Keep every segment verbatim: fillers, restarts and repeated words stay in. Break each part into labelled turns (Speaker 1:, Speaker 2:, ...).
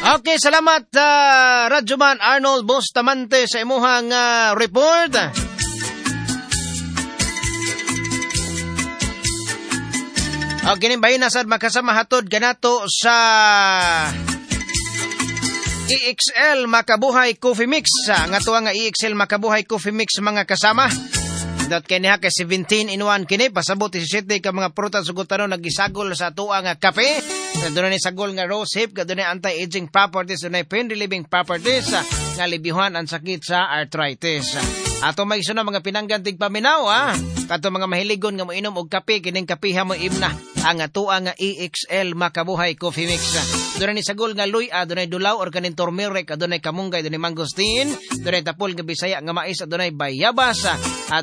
Speaker 1: Okay, salamat uh, Radyoman Arnold Bustamante sa imuhang uh, report. Okay, kini bahin na sad makasama hatod kanato sa E X L Makabuhay Coffee Mix. Ang ato nga E X L Makabuhay Coffee Mix mga kasama. Dot kini ha kay seventeen in one kini pasabot disisiete ka mga prutas ug tanon nagisagol sa atoa nga kape. Dunay sagol nga rose hip, dunay anti-aging properties, dunay pain relieving properties nga libyuhan ang sakit sa arthritis. Ato may isuna mga pinanggan tigpaminaw ha. Kato mga mahiligon nga moinom og kape kining kapeha mo imna ang atoa nga E X L Makabuhay Coffee Mix. Dunay ni sagol nga luy-a, dunay dulaw or kanin turmeric, dunay kamunggay, dunay mangosteen, dunay tapol nga Bisaya nga mais, dunay bayabas,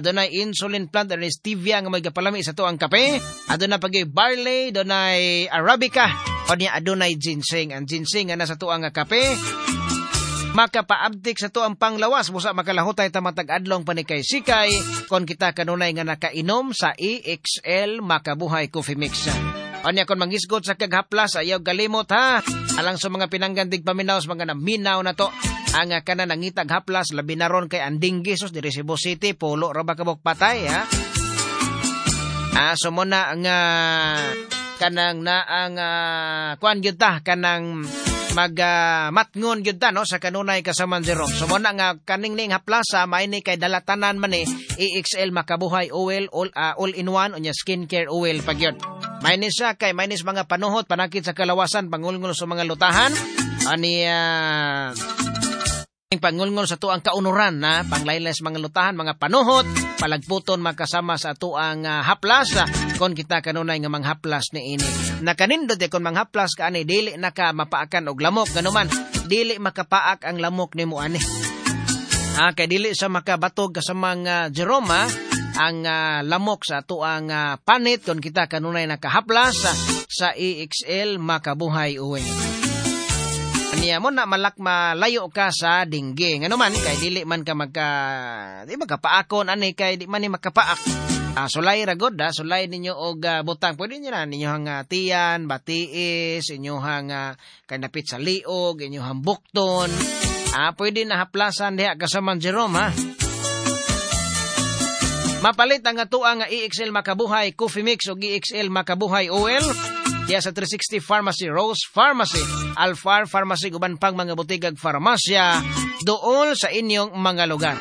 Speaker 1: dunay insulin plant, dunay stevia nga may gapalami sa tuang kape, adunay pagi barley, dunay arabica, o niya adunay ginseng. Ang ginseng nga nasa tuang nga kape makapaabtik sa tuang panglawas, busa makalahutay ta matag adlong panikay-sikay kon kita kanunay nga nakainom sa E X L Makabuhay Coffee Mix. Anya kon mangisgot sa kaghaplas, ayaw galimot ha. Alang sa mga pinanggandig paminaw sa mga naminaw na to. Ang kanan nangitag haplas, labi na ron kay Andinggi, sus, diri Cebu City, pulo ra ba kabok patay ha. Ah, so muna nga kanang naang uh, kuan gyud ta kanang mag uh, matngon gyud ta no sa kanunay kasaman Jerome. So muna nga kaning ning haplasa maini kay dalatanan man ni E X L Makabuhay Oil all, uh, all in one unya skincare oil pagyud. Mainis siya kay mainis mga panuhot panakit sa kalawasan pangulngol sa mga lutahan ani uh, pangulngol sa tuang kaunuran na panglaylas mga lutahan mga panuhot palagputon makasama sa tuang uh, haplas kon kita kanunay nga manghaplas ni ini. Nakanindot eh, kon manghaplas ka ani dili naka mapaakan og lamok ganuman dili makapaak ang lamok nimo ani. Ah, kay dili sa makabatog kasamang uh, Jerome ha, ang uh, lamok sa tuang uh, panit kon kita kanunay nakahaplas uh, sa E X L Makabuhay Uwi. Niya mo na malak malayo ka sa dinggi. Ngano man kay dili man ka magka di makapaakon ani kay di man ni makapaak. Ah, sulay ra gud ha, sulay ninyo og uh, butang. Pwede niyo na ninyohang uh, tiyan, batiis, inyohang uh, kanapit sa liog, inyohang bukton. Ah, pwede na haplasan diha kasaman Jerome ha. Mapalit ang atoa nga E X L Makabuhay Coffee Mix og E X L Makabuhay Oil diya sa three sixty Pharmacy, Rose Pharmacy, Alfar Pharmacy, uban pang mga butigag farmasya dool sa inyong mga lugar.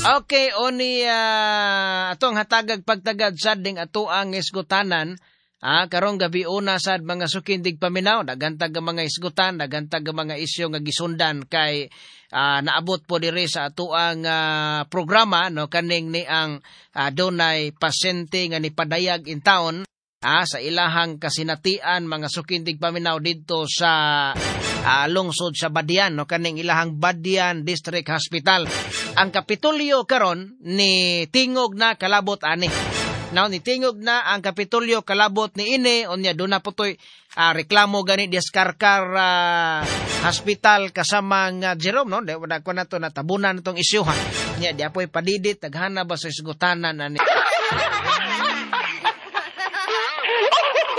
Speaker 1: Okay, oni uh, atong hatagag pagtagad sad ding ato ang isgutanan. Ah, karong gabi una sad mga sukindig paminaw, dagantag ang mga isgutan, dagantag ang mga isyu nga gisundan kay uh, naabot po diri sa atoang uh, programa no kaning ni ang uh, dunay pasyente nga nipadayag in town ah, sa ilahang kasinatian mga sukindig paminaw didto sa uh, lungsod sa Badian no kaning ilahang Badian District Hospital. Ang Kapitolyo karon ni tingog na kalabot ani. Now, nitingog na ang Kapitolyo kalabot ni ini, unya doon na po to'y uh, reklamo gani diskarkar uh, hospital kasamang uh, Jerome, no? Di, wala ko na to, natabunan na tong isyuhan. Nya, di apo'y padidit, taghana ba sa isgutanan, ani?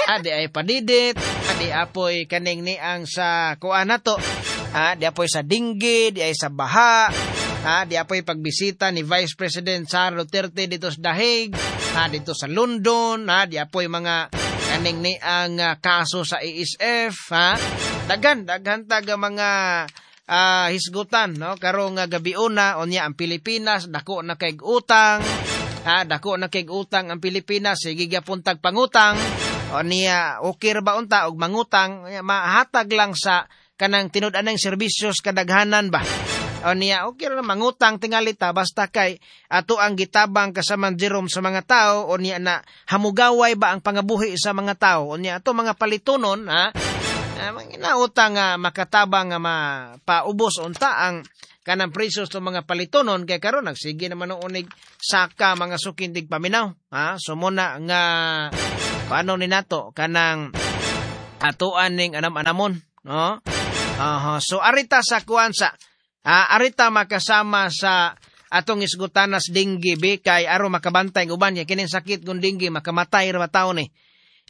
Speaker 1: Ah, di ay padidit, ah, di apo'y kaning niang sa kuan na to, ah, di apo'y sa dinggi, di ay sa baha, ah, di apo'y pagbisita ni Vice President Sara Duterte dito sa Dahig, ha, dito sa London, ha, di apoy mga kaning ni ang uh, kaso sa A S F, ha. Daghan, daghan taga mga uh, hisgutan, no, karong uh, gabi una unya ang Pilipinas dako na kay utang, ha, dako na kay utang ang Pilipinas, sige gyapon tag pangutang. Unya okay ra ba unta og mangutang, mahatag lang sa kanang tinud-anang serbisyos kadaghanan ba. O niya, okay ra mangutang tingali ta basta kay ato ang gitabang kasaman Jerome sa mga tao, o niya na hamugaway ba ang pangabuhi sa mga tao, o niya ato mga palitunon ha, inautang uh, makatabang nga mapaubos unta ang kanang presyo sa mga palitunon kay karon nagsige naman unig saka mga sukindig paminaw ha. So muna nga paano ni nato kanang atoan ning anam-anamon, no? Uh-huh. So arita sa kuan sa Ah, arita makasama sa Atong isgutanas denggi be kay aron makabantay ang uban niya kining sakit kung denggi makamatay ra tawo ni.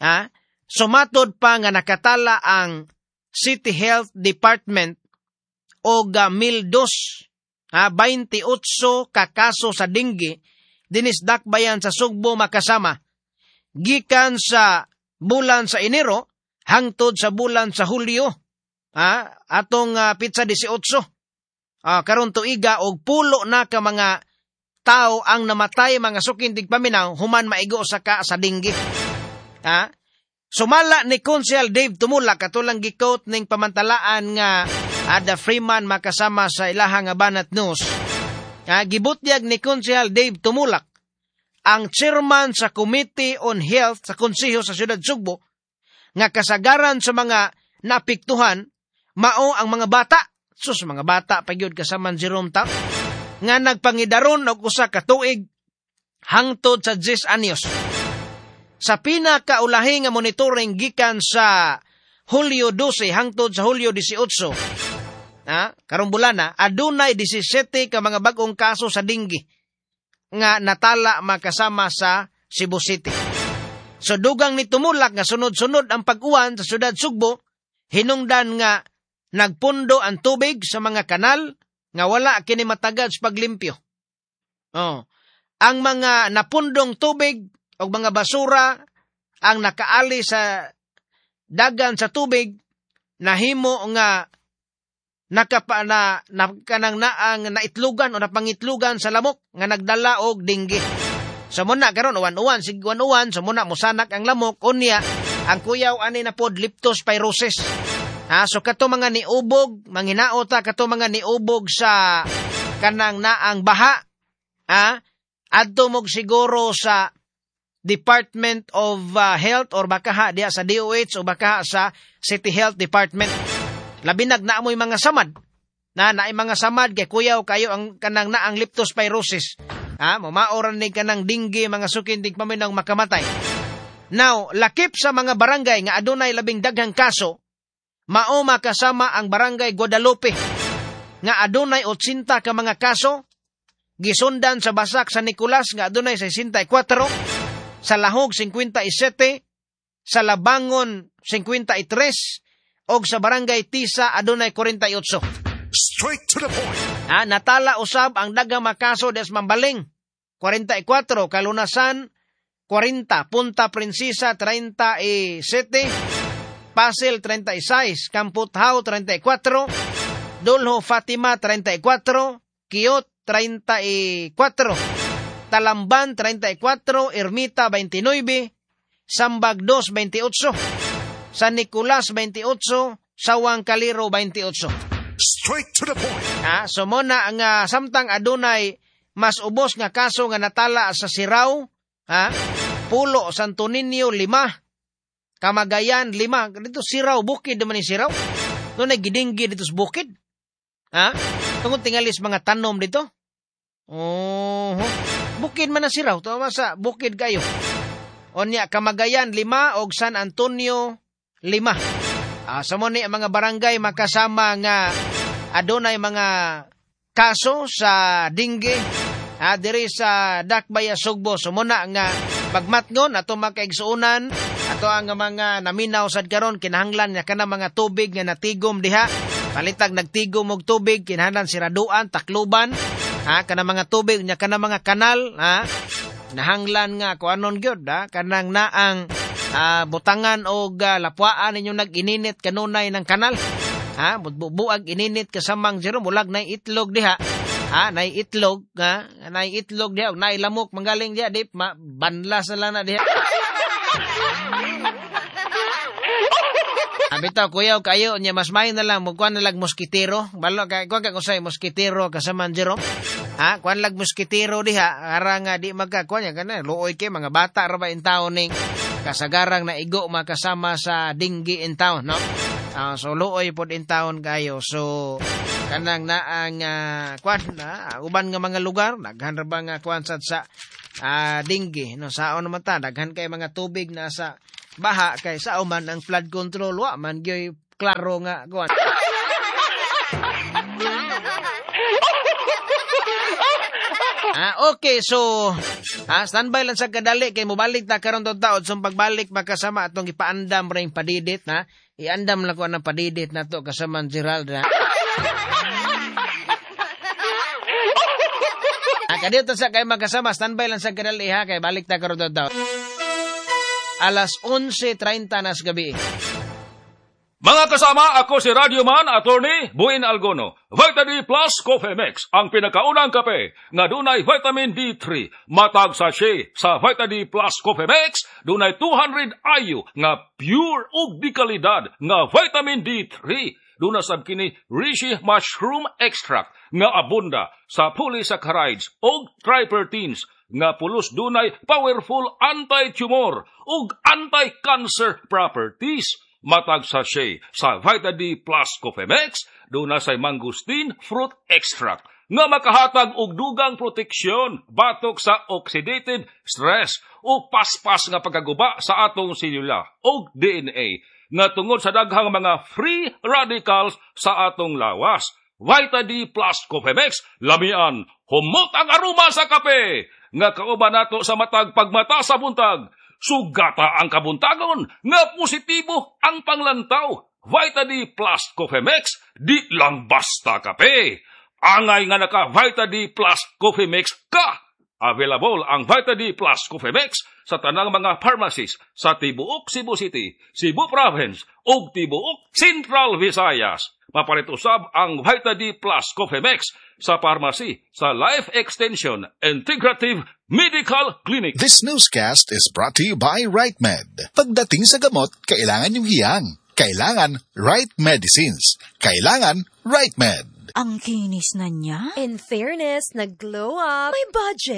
Speaker 1: Ha? Sumatod pa nga nakatala ang City Health Department og uh, mil dos, ha, twenty-eight ka kaso sa denggi dinis dakbayan sa Sugbo, makasama, gikan sa bulan sa Enero hangtod sa bulan sa Hulyo, ha, atong uh, pitsa eighteen uh, karon tuiga, og pulo na ka mga tao ang namatay, mga suking tigpaminaw, human maigo sa ka sa denggi. Ha? Sumala ni Konsehal Dave Tumulak, katulang gi-quote ning pamantalaan nga Ada Freeman, makasama, sa ilahang nga Banat News. Ha, gibutyag ni Konsehal Dave Tumulak, ang chairman sa Committee on Health sa Konseho sa Siyudad Sugbo, nga kasagaran sa mga naapektuhan mao ang mga bata. Sus, mga bata pa gyud, kasaman Jerome ta, nga nagpangidaron og usa ka tuig hangtod sa ten anyos. Sa pinakaulahi nga monitoring gikan sa Hulyo twelve hangtod sa Hulyo eighteen, ha, karong bulana, adunay labing-diyasayis ka mga bag-ong kaso sa denggi nga natala, makasama, sa Cebu City. So dugang ni Tumulak nga sunod-sunod ang pag-uwan sa syudad Sugbo, hinungdan nga nagpundo ang tubig sa mga kanal nga wala kini matagad sa paglimpyo. Oh. Ang mga napundong tubig o mga basura ang nakaali sa dagan sa tubig nahimo nga nakapa na, na kanang naang naitlugan o napangitlugan sa lamok nga nagdala og denggi. So muna karon uwan-uwan, sig uwan-uwan, so muna musanak ang lamok, unya ang kuyaw ani na pod leptospirosis. Ha, so kato mga niubog, manginaota kato mga niubog sa kanang naang baha, ha, adto mog siguro sa Department of uh, Health or baka diya sa D O H o baka sa City Health Department. Labi nag naamoy mga samad. Na naay mga samad kay kuyaw kayo ang kanang naang leptospirosis. Ha, mamaoran ni kanang denggi, mga suking tigpaminaw, makamatay. Now, lakip sa mga barangay nga adunay labing daghang kaso, mao, makasama, ang Barangay Guadalupe nga adunay eighty ka mga kaso, gisundan sa Basak San Nicolas nga adunay sixty-four, sa Lahog fifty-seven, sa Labangon fifty-three og sa Barangay Tisa adunay forty-eight.
Speaker 2: Straight to the point.
Speaker 1: Ah, natala usab ang daghang makaso des Mambaling forty-four, Kalunasan forty, Punta Princesa thirty-seven, Pasil thirty-six, Kamputhaw thirty-four, Dolho Fatima thirty-four, Quiot thirty-four, Talamban thirty-four, Ermita twenty-nine, Sambag two twenty-eight, San Nicolas twenty-eight, Sawang Calero twenty-eight.
Speaker 2: Straight to the point.
Speaker 1: Ah, so mo na nga samtang adunay mas ubos nga kaso nga natala sa Sirao, ha? Pulo, Santo Niño lima, Kamagayan lima. Dito Sirao, bukid naman ni Sirao. No nagidinggi dito sa bukid. Ha? Tungod tingalis mga tanom dito. Oh, bukid man na Sirao, to sa bukid kayo. Onya Kamagayan lima og San Antonio lima. Ah, sa mo ni ang mga barangay, makasama, nga adunay mga kaso sa denggi, ah, diri sa Dakbaya Sugbo. So muna nga pagmatngon ato, makaigsuonan, ato ang mga naminaw sad karon, kinahanglan nga kana mga tubig nga natigom diha, palitag nagtigom og tubig, kinahanglan siraduan, takluban, ha, kana mga tubig nya kana mga kanal, ha, nahanglan nga kuanon gyud, ha, kanang naang ah, butangan og uh, lapwaan ninyo nag-ininit kanunay ng kanal, ha, bubuag ininit kasamang Jerome, mulag nay itlog diha, ha, nay itlog, ha, nay itlog diha, nay lamok manggaling diha, di ma, banlas na lang na diha. Ah, bitaw kuyaw kayo nya mas may na lang mo kuan na lang moskitero. Balo kay kuan ka kusay moskitero, kasaman Jerome. Ha, kuan lag moskitero diha ara nga di magka kuan nya kana luoy kay mga bata ra ba in town ning kasagarang na igo, makasama, sa denggi in town, no? Ah, so luoy pod in town kayo. So kanang naang uh, kuan na uban nga mga lugar daghan ra ba nga kuan sad sa uh, denggi, no? Saon naman ta, daghan kay mga tubig na sa baha kay sao man ang flood control, wa man gyoy klaro nga kuan. Ah, okay, so ah, standby lang sa kadali kay mobalik ta karon taod. So pagbalik, makasama, atong ipaandam ra yung padidit, ha. Iandam lang ko ang padidit nato kasama ang Gerald, ha. Ah, kadiyot sa kay magkasama, standby lang sa kadali, ha, kay balik ta karon taod. Alas onse treinta nas gabi.
Speaker 3: Mga kasama, ako si Radio Man, Attorney Buin Algono. Vita D Plus Coffee Mix, ang pinakaunang kape nga dunay vitamin D three. Matag sachet sa Vita D Plus Coffee Mix, dunay two hundred I U nga pure ug di kalidad nga vitamin D three. Duna sab kini Reishi Mushroom Extract nga abunda sa polysaccharides ug triterpenes nga pulos dunay powerful anti-tumor ug anti-cancer properties. Matag sachet sa Vita D Plus Coffee Mix, duna say mangosteen fruit extract nga makahatag og dugang proteksyon batok sa oxidative stress o paspas nga pagkaguba sa atong selula og D N A nga tungod sa daghang mga free radicals sa atong lawas. Vita D Plus Coffee Mix, lamian, humot ang aroma sa kape nga kauban nato sa matag pagmata sa buntag. Sugata ang kabuntagon nga positibo ang panglantaw. Vita D Plus Coffee Mix, di lang basta kape. Angay nga naka Vita D Plus Coffee Mix ka. Available ang Vita D Plus Coffee Mix sa tanang mga pharmacies sa tibuok Cebu City, Cebu Province ug tibuok Central Visayas. Mapalit usab ang Vita D Plus Coffee Mix sa pharmacy sa Life Extension Integrative Medical Clinic.
Speaker 4: This newscast is brought to you by RiteMed. Pagdating sa gamot, kailangan yung hiyang. Kailangan right medicines. Kailangan RiteMed.
Speaker 5: Ang kinis na niya.
Speaker 6: In fairness, nag-glow up. May budget.